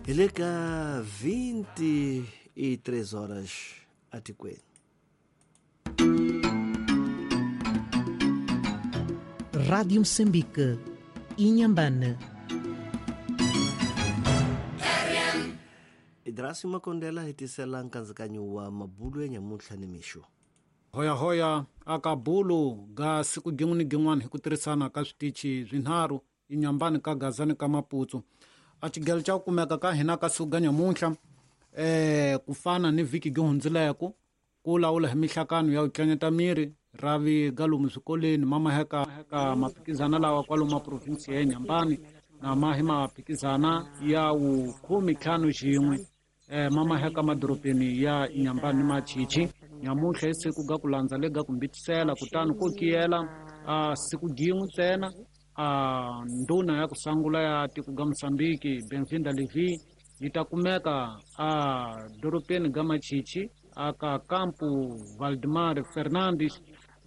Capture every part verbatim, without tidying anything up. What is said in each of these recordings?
Hi le ka vinte e três horas atikweni. Rádio Moçambique, Inhambane. Idrasi Makondela hi tisela nkatsakanyo wa mabulu ya nyamuntlha ni mixo. Hoyahoya aka bulu ga siku gin'we ni gin'wana hi ku tirhisana ka switichi swinharhu Inhambane ka Gaza ni ka Maputo. A xigelo xa ku kumeka ka hina ka siku ga nyamuntlha eh ku fana ni vhiki gi hundzileko ku lawula hi mihlakano ya ku tlanyeta miri ravi ga lomu swikolweni ma maheka ka maphikizana lawa kwalomu ma provinsi ya Inhambane na mahi maphikizana ya wukhume ntlhanu xin'we eh ma maheka madorobeni ya Inhambane ni Machichi. Nyamuntlha i siku ga ku landza le ga ku mbitisela kutani ko kiyela a siku gin'we ntsena a ndhuna ya ku sangula ya tiko ga Mosambiki Benvinda Levi yi ta kumeka a dorobeni ga Machichi aka kampu Valdemar Fernandes,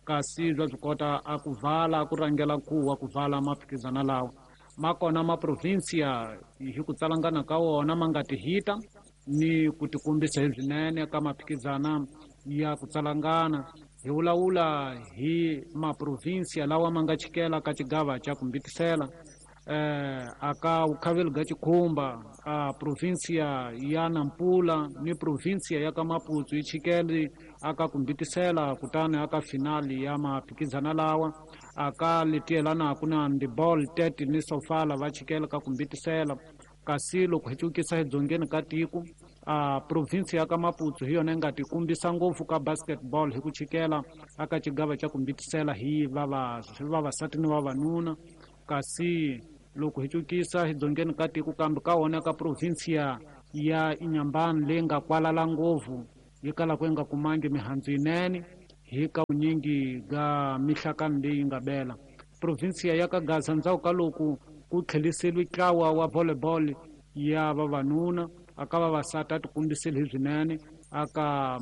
kasi bya swi kota a ku vala ku rhangela nkuwa ku vala maphikizana lawa ma kona ma provinsia hi ku tsalangana ka wona ma nga tihita ni ku tikombisa hi swinene ka maphikizana ya ku tsalangana. Hi vulavula hi maprovinsia lawa ma nga chikela ka xigava xa ku mbitisela eh aka vukhaveli ga Chikhumba a provinsia ya Nampula ni provinsia ya ka Maputo yi chikele aka ku mbitisela kutani aka finali ya maphikizana lawa aka letielanaku na handball Tete ni Sofala va chikela ka ku mbitisela. Kasi loko hi cukisa hi dzongeni ka tiko a provinsi ya ka Maputo hi yona yi nga tikombisa ngopfu ka basketball hi ku chikela aka xigava xa ku mbitisela hi vavasati ni vavanuna. Kasi loko hi cukisa hi dzongeni ka tiko kambe ka wona ka provinsia ya Inhambane leyi nga kwalala ngopfu yi kalaka yi nga kumangi mihandzu yinene hi ka vunyingi ga mihlakano leyi nga bela provinsia ya ka Gaza ndzhaku ka loko ku tlheliseliwe ntlawa wa volleyball ya vavanuna aka vavasati a tikombisile hi swinene aka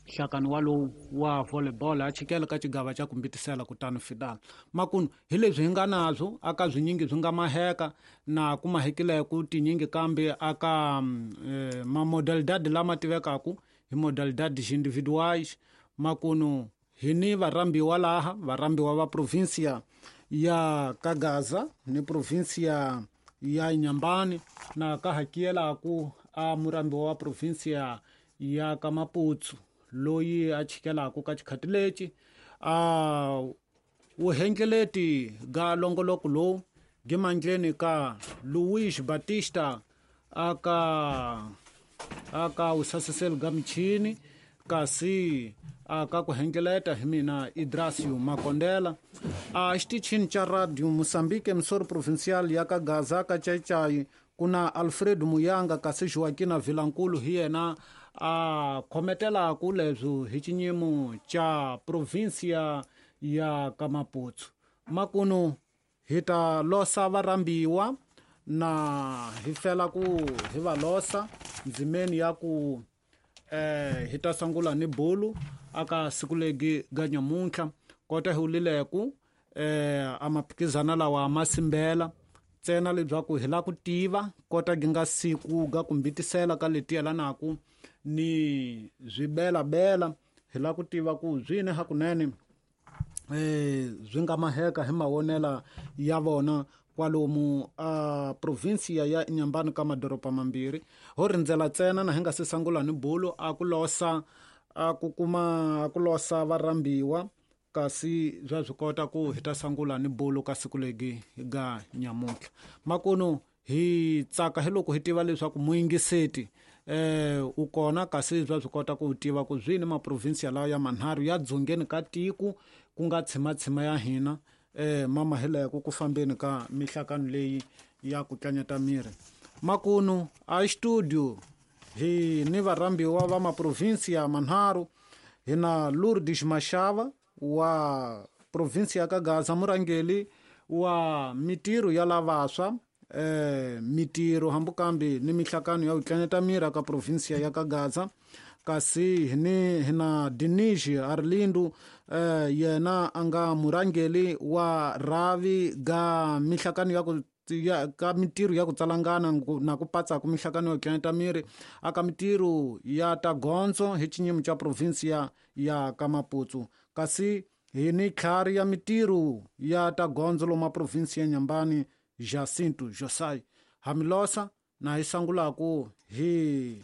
nhlakano walowu wa volleyball a chikela ka xigava xa ku mbitisela kutani final. Makunu hi leswi hi nga nabyo aka swinyingi swi nga maheka na ku mahekileko tinyingi kambe aka eh, mamodalidade lama tivekaku hi modalidades individuais. Makunu hi ni varhambiwa laha varhambiwa va provinsia ya ka Gaza ni provinsia ya Inhambane na ka hakiyelaku a murhambiwa wa provinsia ya ka Maputo loyi a chikelaku ka xikhati lexi a wuhengeleti ga longoloko lowu gimandleni ka Luis Batista aka aka wusasiseli ga michini, kasi aka ku hengeleta hi mina Idrasio Makondela a xitichini xa Radio Moçambique emissora provincial ya ka Gaza ka Chaichai ku na Alfredo Muyanga, kasi Joaquina Vilankulu hi yena a khometelaku leswo hi xinyimo xa provinsia ya ka Maputo. Makunu hi ta losa varhambiwa na hi fela ku hi va losa ndzimeni ya ku eh hi ta sungula ni bulu aka siku legi ga nyamuntlha kota hi wulileku eh a maphikizana lawa ma simbela ntsena leswaku hi la ku tiva kota gi nga siku ga ku mbitisela ka leti yelanaku ni swibelabela hi la ku tiva ku swini hakunene eh swi nga maheka hi mavonela ya vona kwalomu a provinsia ya Inhambane ka madoroba mambirhi. Ho rindzela ntsena na hi nga se sungula ni bulu a ku losa a ku kuma a ku losa varhambiwa, kasi bya swi kota ku hi ta sungula ni bulu ka siku legi ga nyamuntlha. Makunu hi tsaka hi loko hi tiva leswaku muyingiseti eh u kona, kasi bya swi kota ku tiva ku swini maprovinsia lawa ya manharhu ya dzongeni ka tiko ku nga tshimatshima ya hina eh mama hileko ku fambeni ka mihlakano leyi ya ku tlanyeta miri. Makunu a studio hi ni varhambiwa va maprovinsia manharhu hi na Lourdes Mashava wa provinsia ya ka Gaza, murhangeri wa mitirho ya lavaswa eh mitirho hambukambi ni mihlakano ya ku tlanyeta miri ka provinsia ya ka Gaza, kasi hi ni hi na Dinizhi Arlindo eh yena a nga murhangeri wa rhavi ga mihlakano ya ku ya ka mintirho ya ku tsalangana na ku patsa ku mihlakano yo tlanyeta miri aka mintirho ya ta gondzo hi xinyimo xa provinsia ya ka Maputo kasi hi ni tlhari ya mintirho ya ta gondzo loma provinsia ya Nyambani Jacinto Josai hamilosa na hi sangulaku hi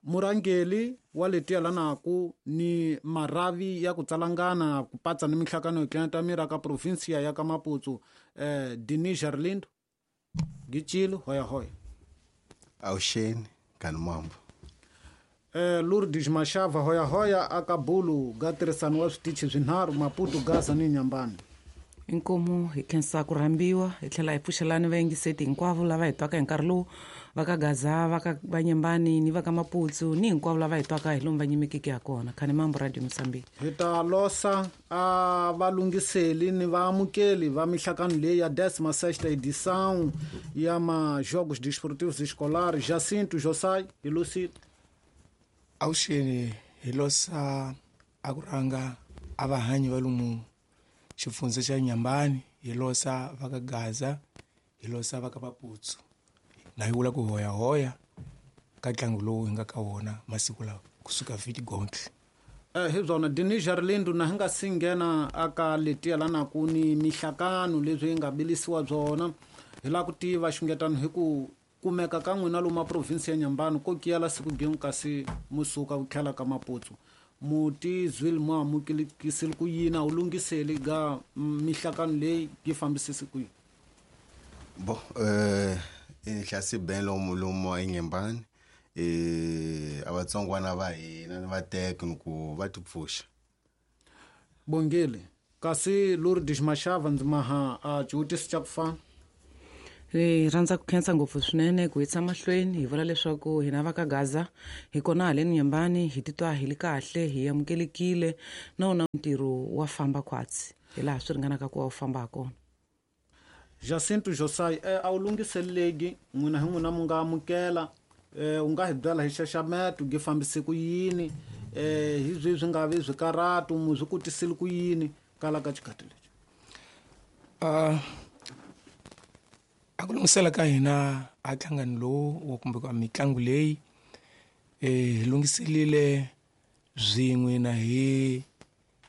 murangeli wa letiya lanaku ni maravi ya ku tsalangana ku patsa ni mihlakano yo tlanyeta miri aka provinsia ya ka Maputo eh Denis Jarlindo Gichilo hoya hoya Awuxeni kanimambo eh Lourdes Mashava hoya hoya aka bulu ga tirhisano wa switichi swinharhu Maputo Gaza ni Nyambani. Inkomu hi khensa ku rhambiwa hi tlhela hi pfuxelani vayingiseti hinkwavo lava hi twaka hi nkarhi lowu va ka Gaza va ka Vanyembani ni va ka Maputo ni hinkwavo lava hi twaka hi lomu va nyimekeke ha kona. Khanimambo Radio Mozambique. Hi ta losa a valunghiseli ni vaamukeli va mihlakano leyi ya décima sexta edição ya ma Jogos Desportivos Escolares Jacinto Josai hi Lucito. Awuxeni hi losa a ku rhanga a vahanyi va lomu xifundza xa Nyambani hi losa va ka Gaza hi losa va ka Maputo na hi vula ku hoya hoya ka ntlangu lowu hi nga ka wona masiku lawa kusuka vhiki gontle. Eh hi byona Denis Jarlindo na hi nga si nghena aka letiya lanaku ni mihlakano leswi yi nga bilisiwa byona hi lava ku tiva xungetano hi ku kumeka ka n'wina lomu province ya Nyambani ko kiyala siku gin'we kasi musuka ku tlhela ka Maputo muti zwil mo amukelikisile ku yini a wu lunghiseli ga mihlakano leyi yi fambisisi ku yini? Bo eh inhlasi ben lomu lomu eNyambani eh abatsongwana va hina ni va teka ku va tipfuxa. Bongile kasi Lourdes Mashava ndzi maha a xivutiso xa ku fana. Hi rhandza ku khensa ngopfu swinene ku yisa mahlweni hi vula leswaku hina va ka Gaza hi kona haleni Nyambani hi titwa hi li kahle hi amukelekile na wona ntirho wa famba khwatsi hi laha swi ringanaka ku va wu famba ha kona. Jacinto Josai eh, a wu lunghiseleki n'wina hi n'wina mu nga amukela eh, u nga hi byela hi xaxameto gi fambise ku yini eh, hi byi swi nga vi swikarhatu mu swi kotisile ku yini kala ka xikhathi lexi? Uh, a ku lunghisela ka hina a nhlangano lowu kumbe ka mitlangu leyi eh hi lunghiselile swin'we na hi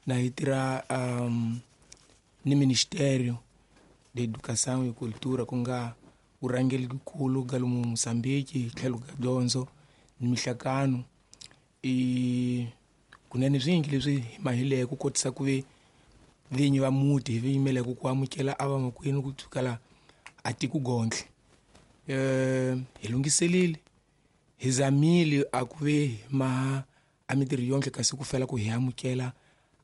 na hi tirha um ni Ministério de Educação e Cultura ku nga vurhangeri nkulu ga lomu Mozambique hi tlhelo ka dyondzo ni mihlakano i kunene swingi leswi hi mahileke ku kotisa ku ve vinyi va muti hi vi yimeleke ku amukela a vamakwenu ku tsukela a tiko gontle eh hi lunghiselile hi zamile a ku ve ma a mintirho yonke kasi ku fela ku hi amukela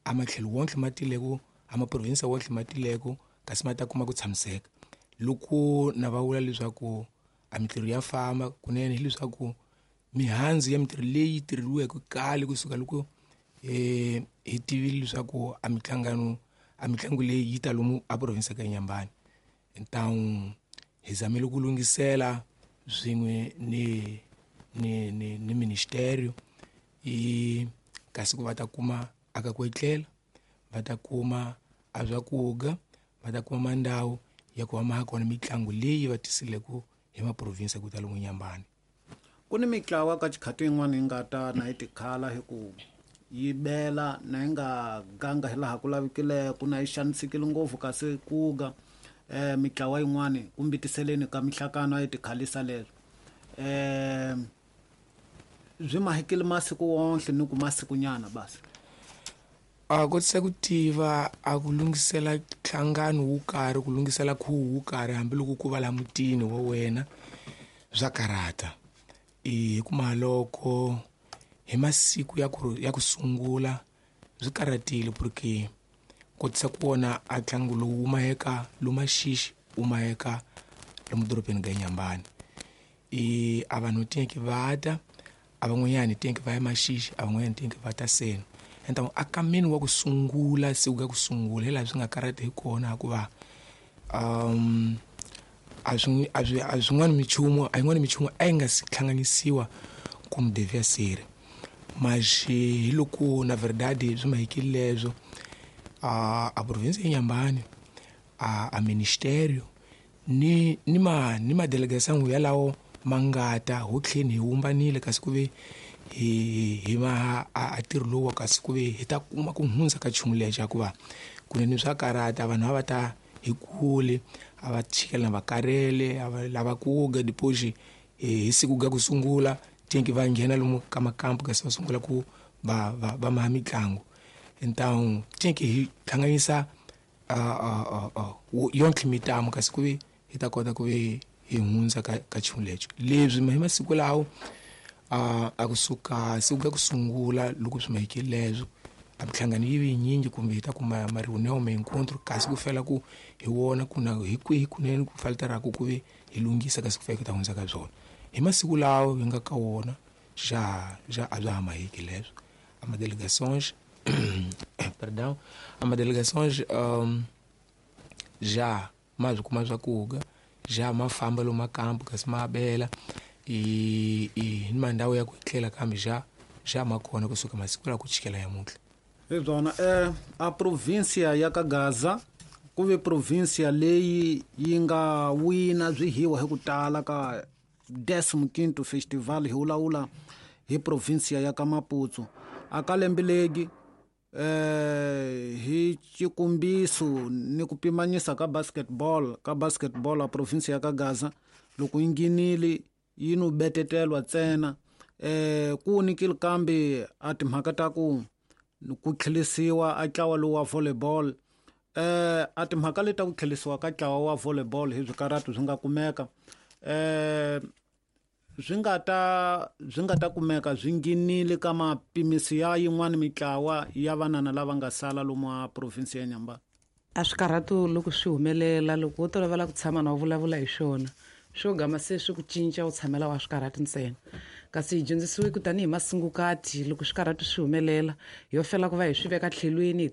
a matlhelo wonke ma tileko a maprovinsi wonke ma tileko kasi ma ta kuma ku tshamiseka loko na va vula leswaku a mintirho ya famba kunene hileswaku mihandzu ya mintirho leyi tirheriweke kale kusuka loko eh hi tivile leswaku a mihlangano a mitlangu leyi yi ta lomu a provinsi ka Nyambani. Então hi zamile ku lunghisela swin'we ni ni ni ni ministério i kasi ku va ta kuma aka ku etlela va ta kuma a swakudya va ta kuma mandhawu ya ku va ma kona mitlangu leyi va tisileke hi maprovinsi ku ta lomu Nyambani. Ku ni mitlawa ka xikhati yin'wana yi nga ta na yi tikhala hi ku yi bela na yi nga ganga hi laha ku lavikileke na yi xanisekile ngopfu kasi ku ga eh mitlawa yin'wana kumbe tiseleni ka mihlakano a yi tikhalisa leswo eh byi mahikile masiku wonke ni ku masikunyana basi. A kotisa ku tiva a ku lunghisela nhlangano wo karhi ku lunghisela khuvo wo karhi hambiloko ku va la mutini wa wena swa karhata i kuma loko hi masiku ya ku ya ku sungula swi karhatile porque kotisa ku vona a ntlangu lowu wu maheka lomaxixi wu maheka lomu dorobeni ka Nyambani i a vanhu tinki va ta a van'wanyani tinki va ya maxixi a van'wanyani tinki va ta seno. Então a kameni wa ku sungula siku ka ku sungula hi laha swi nga karhata hi kona hikuva um a swi a swi a swin'wana minchumu a yin'wana minchumu a yi nga si hlanganisiwa como devia ser mas hi loko na verdade swi mahikile leswo a a província ya Nyambani a a ministério Ni ni ma ni madelegação yalawo mangata ho tlheni hi wumbanile kasi ku ve hi hi ma a ntirho lowu kasi ku ve hi ta kuma ku hundza ka nchumu lexi hikuva kunene swa karata vanhu a va ta hi kule a va chikela va karele a va lava ku ga depois hi siku ga ku sungula tinki va nghena lomu ka makampu kasi va sungula ku va va va maha mitlangu. Então tinki hi hlanganisa a a yonke mitamo kasi ku ve hi ta kota ku ve hi hundza ka ka nchumu lexo. Leswi hi masiku lawo a a kusuka siku ga ku sungula loko swi mahikile leswo a mihlangano yi vi yinyingi kumbe hi ta kuma ma reunião ma encontro kasi ku fela ku hi wona ku na hi kwihi kunene ku faltaraku ku ve hi lunghisa kasi ku fika ta hundza ka byona. Hi masiku lawo hi nga ka wona já já a bya ha mahiki leswo. A ma delegações perdão a ma delegações um, já ma byi kuma swakudya já ma famba lomu makampu kasi ma abela i i ni mandhawu ya ku etlela kambe já já ma kona kusuka masiku la ku chikela yamuntlha. Hi byona eh a província ya ka Gaza ku ve província leyi yi nga wina swihiwa hi ku tala ka décimo quinto festival hi vulavula hi província ya ka Maputo. A ka lembe legi eh hi xikombiso ni ku pimanyisa ka basketball ka basketball a província ya ka Gaza loko yi nghenile yi no betetelwa ntsena eh ku nikile kambe a timhaka ta ku ku tlhelisiwa a ntlawa lowu wa volleyball eh a timhaka leti ta ku tlhelisiwa ka ntlawa wa volleyball hi swikaratu swi nga kumeka eh swi nga ta swi nga ta kumeka swi nghenile ka mapimisi ya yin'wana mitlawa ya vanana lava nga sala lomu a province ya Nyamba. A swikarhatu loko swi humelela loko wo tolovela ku tshama na u vulavula hi swona swo gama se swi ku cinca u tshamela wa swikarhatu ntsena. Kasi hi dyondzisiwe ku tanihi masungukati loko swikarhatu swi humelela yo fela ku va hi swi veka tlhelweni hi